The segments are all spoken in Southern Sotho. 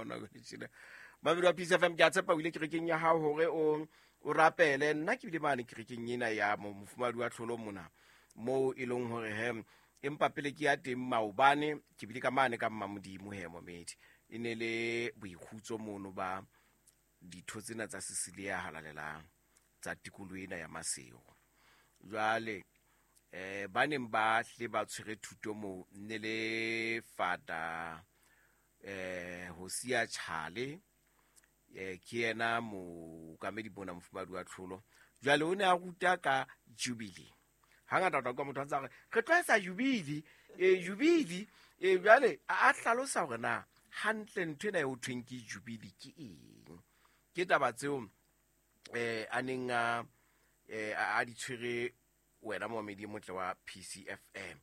hona jwale tjena. Mamedi wa PCFM, ke a tshepa o ile kerekeng ya hao hore o rapele. Nna ke bile mane kerekeng ena ya mofumahadi wa tlholo mona, moo e leng hore he empa pele ke ya teng maobane ke bile ka mane ka Mmamodimo he momedi. E ne le boikgutso mono ba ditho tsena tsa Cecilia halalelang tsa tikoloho ena ya Maseru. Jwale ba neng ba hle ba tshwere thuto moo ne le Fata Hosia Chale, ke yena mookamedi mona mofumahadi wa tlholo. Jwale o ne a ruta ka Jubilee. Hangata o tla utlwa motho a ntse a re, re tlo etsa Jubilee, Jubilee. Jwale a hlalosa hore na hantle ntho ena e ho thweng ke Jubilee ke eng. Ke taba tseo a neng a di tshwere wena momamedi e motle wa PCFM.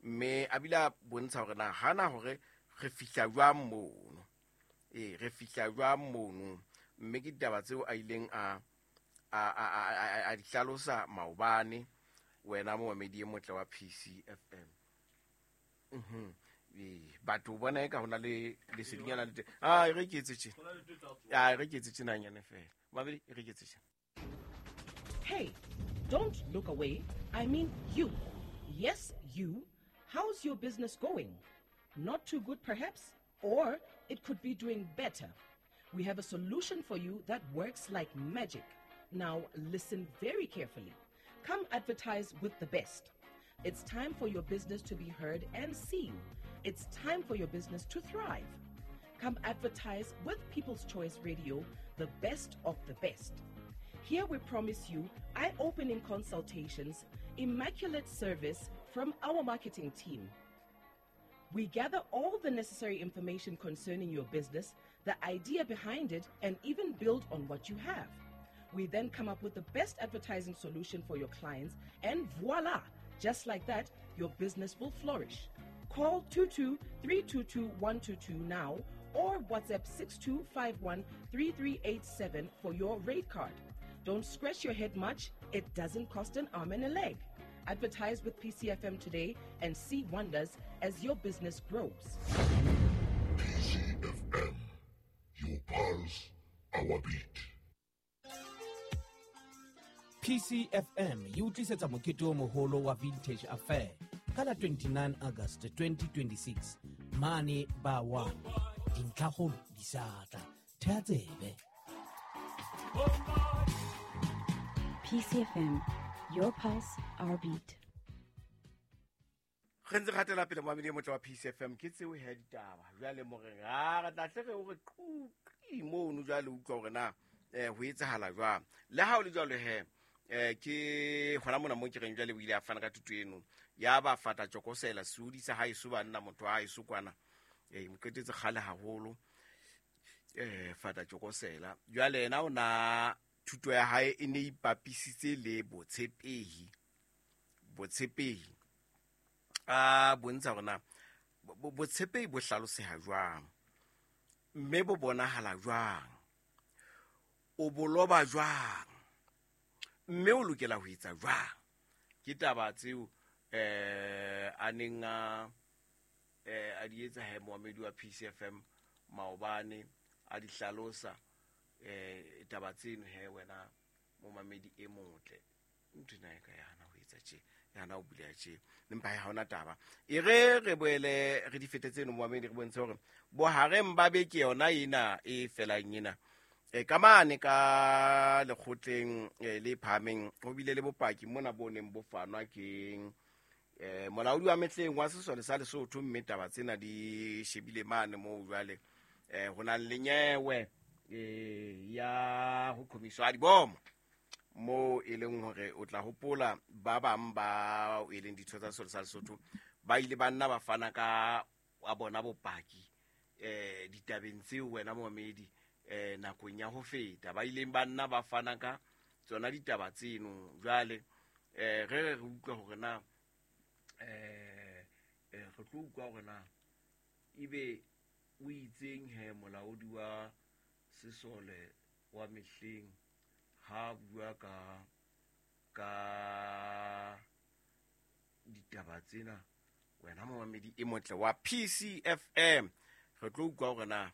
Mme a bile a bontsha hore na hana hore re fihla jwang mono. Re fihla jwang mono. Mme ke ditaba tseo a ileng a di hlalosa maobane wena momamedi e motle wa PCFM. Batho bona eka hona le lesedinyana le teng. Ah, e re ke etse tjena. Ah, e re ke etse tjena nyane fela. Mamedi, e re ke etse tjena. Hey, don't look away. I mean you. Yes, you. How's your business going? Not too good, perhaps? Or it could be doing better. We have a solution for you that works like magic. Now, listen very carefully. Come advertise with the best. It's time for your business to be heard and seen. It's time for your business to thrive. Come advertise with People's Choice Radio, the best of the best. Here we promise you eye-opening consultations, immaculate service from our marketing team. We gather all the necessary information concerning your business, the idea behind it, and even build on what you have. We then come up with the best advertising solution for your clients, and voila! Just like that, your business will flourish. Call 22-322-122 now or WhatsApp 6251-3387 for your rate card. Don't scratch your head much. It doesn't cost an arm and a leg. Advertise with PCFM today and see wonders as your business grows. PCFM, your pulse, our beat. PCFM e utlwisetsa mokete o moholo wa Vintage Affair ka la 29 August 2026 mane ba 1. Dintlhakgolo di sa tla. Thea tsebe. PCFM, your pulse, our beat. Re ntse re hatela pele momamedi e motle wa PCFM, ke tseo he ditaba. Jwale moreng, ha re tla hle re o re quqi mono jwale utlwa hore na ho etsahala jwang. Le ha o le jwalo he, ke hona mona mo ke reng jwale o ile a fana ka thuto eno. Ya ba fata tjokosela, seodi sa haeso banna, motho wa haeso kwana. Mo qetetse kgale haholo. Fata tjokosela. Jwale yena o na thuto ya hae e ne ipapisitse le botshepehi. Botshepehi. A bontsha hore na botshepehi bo hlaloseha jwang, mme bo bonahala jwang, o bo loba jwang, mme o lokela ho etsa jwang. Ke taba tseo a neng a di etsa he moamedi wa PCFM maobane, a di hlalosa taba tseno he wena momamedi e motle. Ntho ena e ka ya hana ho etsa tje, ya hana ho buleha tje, empa ha hona taba. E re re boele re di fete tseno momamedi, re bontshe hore bohareng ba beke yona ena e felang ena. Ka mane ka lekgotleng le phahameng ho bile le bopaki mona bo neng bo fanwa ke molaodi wa mehleng wa sesole sa Lesotho, mme taba tsena di shebile mane moo jwale ho nang le nyewe ya ho qhomiswa ha dibomo, moo e leng hore o tla hopola ba bang ba e leng ditho tsa sesole sa Lesotho ba ile ba nna ba fana ka wa bona bopaki ditabeng tseo wena momamedi nakong ya ho feta, ba ileng ba nna ba fana ka tsona ditaba tseno. Jwale re re utlwa hore na re tlo utlwa hore na ebe o itseng he molaodi wa sesole wa mehleng ha bua ka ditaba tsena. Wena momamedi e motle wa PCFM, re tlo utlwa hore na